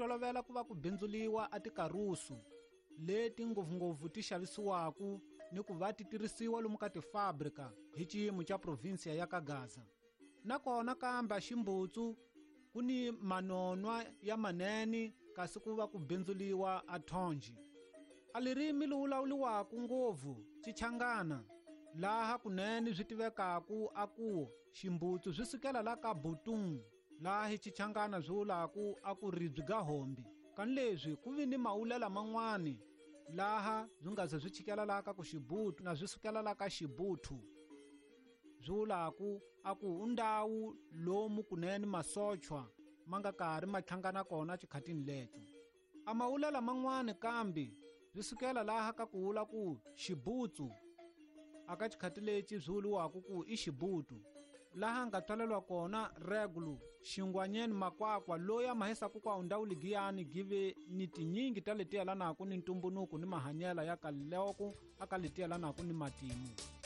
Tolovela ku va ku bindzuliwa a tikarusu leti ngopfungopfu ti xavisiwaku ni ku va ti tirhisiwa lomu ka tifabrika hi xiyimo xa provinsiya ya ka Gaza. Nakona kambe ximbutsu ku ni manonwa ya manene kasi ku va ku bindzuliwa a thonji. A lirimi li wulawuliwaku ngopfu Xichangana laha kunene swi tivekaku a ku ximbutsu swi sukela la ka Butung laha hi Xichangana swi vulaku a ku ribyi ga hombi. Kani leswi ku vi ni mawulela man'wani laha swi nga ze swi chikela laha ka ku xibutu na swi sukela la ka xibuthu swi vulaku a ku u ndhawu lomu kunene masochwa ma nga karhi ma hlangana kona xikhatini leco. A mawulela man'wani kambe swi sukela laha ka ku vula ku xibutsu aka xikhati lexi swi vuriwaku ku i xibutu laha nga twalelwa kona Regulu Xingwanyeni Makwakwa loyi a mahisaku kwa ndhawu ligiyani give ni tinyingi ta leti yelanaku ni ntumbunuku ni mahanyela ya kaloko aka leti yelanaku ni matimu.